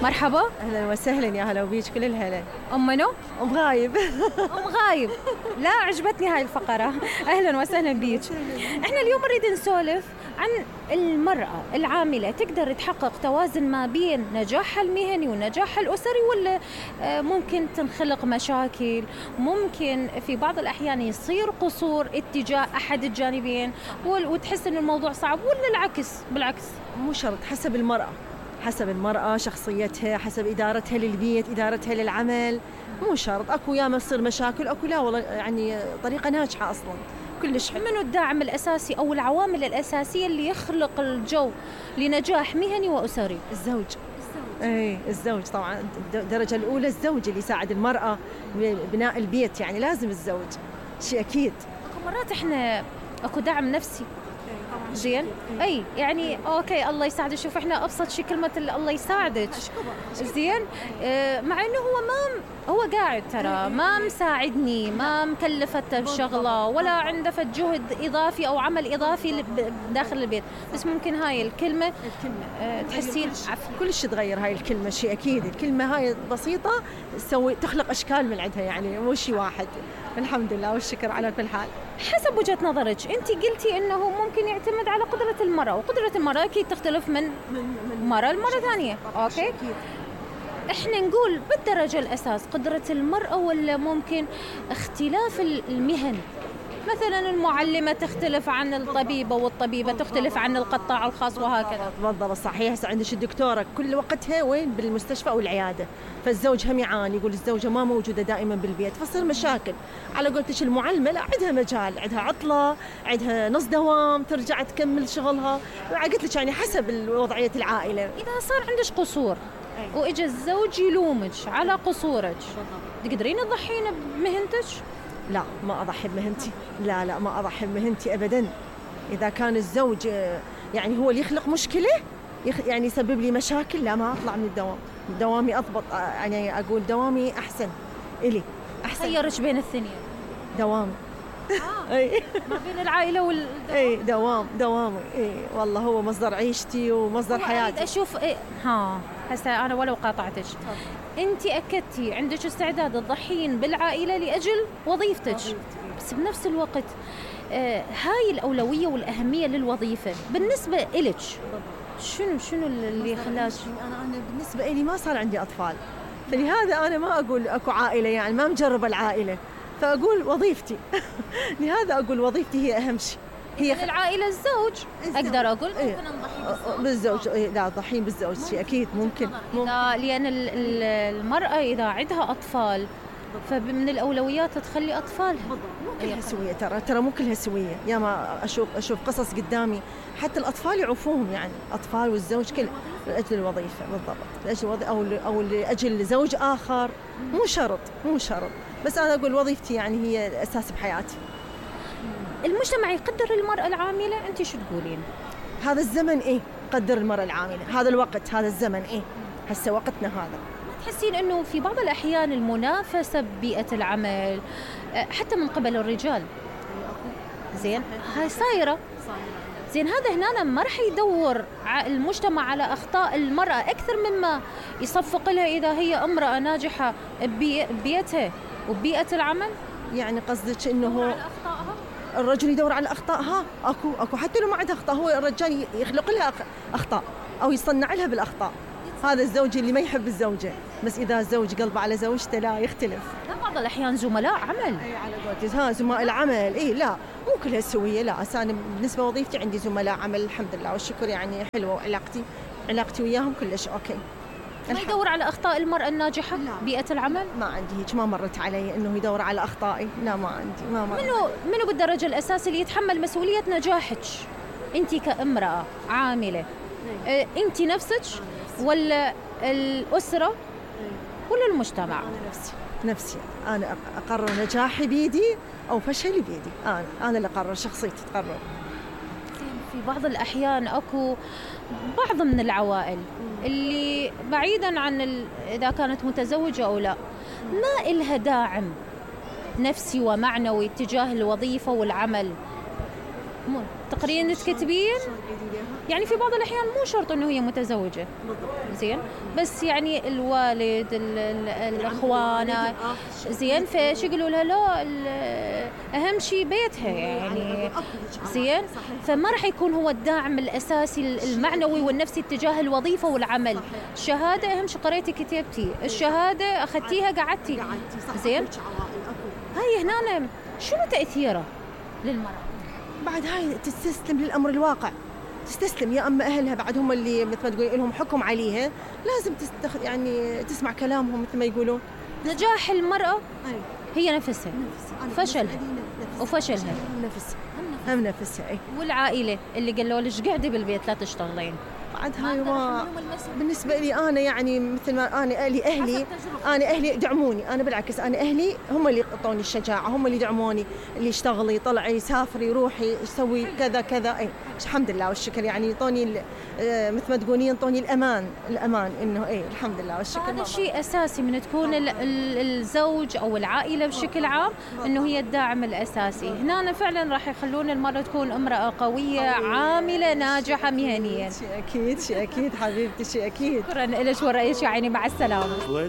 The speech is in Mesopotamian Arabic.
مرحبا. اهلا وسهلا، يا هلا وبيج كل الهلا. ام منو؟ ام غايب. ام غايب. لا عجبتني هاي الفقرة. اهلا وسهلا بيك. احنا اليوم نريد نسولف عن المرأة العاملة، تقدر تحقق توازن ما بين نجاحها المهني ونجاحها الأسري، ولا ممكن تنخلق مشاكل، ممكن في بعض الأحيان يصير قصور اتجاه أحد الجانبين وتحس إن الموضوع صعب، ولا العكس؟ بالعكس مو شرط، حسب المرأة، حسب المرأة شخصيتها، حسب إدارتها للبيت، إدارتها للعمل. مو شرط، أكو ياما تصير مشاكل، أكو لا والله يعني طريقة ناجحة أصلاً كلش حلو. منو الداعم الأساسي أو العوامل الأساسية اللي يخلق الجو لنجاح مهني وأسري؟ الزوج. اي الزوج طبعا، الدرجة الأولى الزوج اللي يساعد المرأة ببناء البيت، يعني لازم الزوج، شيء أكيد. أكو مرات إحنا أكو دعم نفسي زين، اي يعني اوكي الله يساعدك. شوف احنا ابسط شيء كلمه الله يساعدك زين، مع انه هو قاعد ترى ما مساعدني، ما مكلفته بشغله ولا عنده فد جهد اضافي او عمل اضافي داخل البيت، بس ممكن هاي الكلمه تحسين كل شيء تغير هاي الكلمه، شيء اكيد. الكلمه هاي بسيطه تخلق اشكال من عندها، يعني مو شيء واحد. الحمد لله والشكر على كل حال. حسب وجهة نظرك، أنت قلتي إنه ممكن يعتمد على قدرة المرأة، وقدرة المرأة أكيد تختلف من مرة لمرة ثانية. أوكي، إحنا نقول بالدرجة الأساس قدرة المرأة، ولا ممكن اختلاف المهن؟ مثلا المعلمة تختلف عن الطبيبة، والطبيبة تختلف عن القطاع الخاص، وهكذا. بالضبط صحيح. هسه عندك الدكتورة كل وقتها وين؟ بالمستشفى أو العيادة، فالزوج هم يعاني، يقول الزوجة ما موجودة دائما بالبيت، فصير مشاكل. على قولتك المعلمة لا، عندها مجال، عندها عطلة، عندها نص دوام، ترجع تكمل شغلها. قلت لك يعني حسب وضعية العائلة. إذا صار عندك قصور وإجا الزوج يلومك على قصورك، تقدرين تضحين بمهنتك؟ لا ما أضحي بمهنتي، لا ما أضحي بمهنتي أبداً. إذا كان الزوج يعني هو اللي يخلق مشكلة، يعني يسبب لي مشاكل، لا ما أطلع من الدوام. دوامي أضبط، يعني أقول دوامي أحسن إلي، أحسن. خيرش بين الثنين. دوامي. أي ما بين العائلة والدوام. أي دوامي. أي والله هو مصدر عيشتي ومصدر حياتي. أشوف هسه أنا ولو قاطعتك، أنت أكدتي عندك استعداد تضحين بالعائلة لأجل وظيفتك، بس بنفس الوقت هاي الأولوية والأهمية للوظيفة بالنسبة إلك شنو اللي خلاك؟ أنا بالنسبة إلي ما صار عندي أطفال، فلهذا أنا ما أقول أكو عائلة، يعني ما مجربة العائلة، فأقول وظيفتي. لهذا أقول وظيفتي هي أهم شيء. هي العائلة الزوج أقدر أقول ممكن نضحي بالزوج. لا ضحين بالزوج شيء أكيد ممكن. لأن المرأة إذا عندها أطفال فمن الأولويات تخلي أطفالها. مو كلها سوية، ترى مو كلها سوية. يا ما أشوف قصص قدامي حتى الأطفال يعوفوهم، يعني أطفال والزوج كل لأجل الوظيفة. بالضبط، لأجل أو لأجل زوج آخر. مو شرط، بس أنا أقول وظيفتي يعني هي الأساس بحياتي. المجتمع يقدر المرأة العاملة، أنت شو تقولين؟ هذا الزمن إيه قدر المرأة العاملة، هذا الوقت، هذا الزمن إيه، هسه وقتنا هذا. تحسين أنه في بعض الأحيان المنافسة ببيئة العمل حتى من قبل الرجال زين هاي صايرة زين، هذا هنا ما رح يدور المجتمع على أخطاء المرأة أكثر مما يصفق لها إذا هي امرأة ناجحة ببيئتها وببيئة العمل؟ يعني قصدك إنه الرجل يدور على أخطائها؟ أكو حتى لو ما عندها أخطاء، هو الرجال يخلق لها أخطاء أو يصنع لها بالأخطاء. هذا الزوج اللي ما يحب الزوجة، بس إذا الزوج قلبه على زوجته لا يختلف. لا بعض الأحيان زملاء عمل. أي على قولتك زملاء العمل. لا مو كلها سوية. لا أنا بالنسبة لوظيفتي عندي زملاء عمل الحمد لله والشكر، يعني حلوة، علاقتي وياهم كلش أوكي. ما يدور على أخطاء المرأة الناجحة بيئة العمل؟ ما عندي هيك، ما مرت علي إنه يدور على أخطائي. لا ما عندي، ما مرت. منو بالدرجة الأساسية اللي يتحمل مسؤولية نجاحك أنت كامرأة عاملة؟ أنت نفسك ولا الأسرة ولا المجتمع؟ أنا نفسي أنا أقرر نجاحي بيدي أو فشلي بيدي. أنا اللي أقرر، شخصيتي تقرر. في بعض الأحيان أكو بعض من العوائل اللي بعيداً عن إذا كانت متزوجة أو لا، ما إلها داعم نفسي ومعنوي تجاه الوظيفة والعمل، مو تقرين تكتبين يعني في بعض الأحيان مو شرط إنه هي متزوجة زين، بس يعني الوالد الأخوان زين، فش يقولوا لها لا أهم شيء بيتها يعني زين، فما راح يكون هو الداعم الأساسي المعنوي والنفسي اتجاه الوظيفة والعمل. الشهادة أهم شيء قريتي كتبتي، الشهادة أخذتيها قعدتي زين. هاي هنا شنو تأثيره للمرأة؟ بعد هاي تستسلم للأمر الواقع، تستسلم، يا أما أهلها بعد هم اللي مثل ما تقولين لهم حكم عليها، لازم يعني تسمع كلامهم مثل ما يقولون. نجاح المرأة هي نفسها، فشلها وفشلها هم نفسها. والعائلة اللي قالوا ليش قاعدة بالبيت لا تشتغلين، بعد هاي ما بالنسبة لي أنا يعني مثل ما أنا أهلي دعموني، أنا بالعكس أنا أهلي هم اللي أعطوني الشجاعة، هم اللي دعموني، اللي اشتغلي طلعي سافري روحي سوي كذا كذا، الحمد لله والشكر، يعني يعطوني مثل ما تقولين يعطوني الأمان إنه الحمد لله والشكر. هذا شيء أساسي من تكون الزوج أو العائلة بشكل عام، إنه هي الداعم الأساسي. هنا فعلا راح يخلون المرأة تكون امرأة قوية عاملة ناجحة مهنيا. شيء أكيد حبيبتي، شيء أكيد. شكرا لك ورأيك، يعني مع السلامة.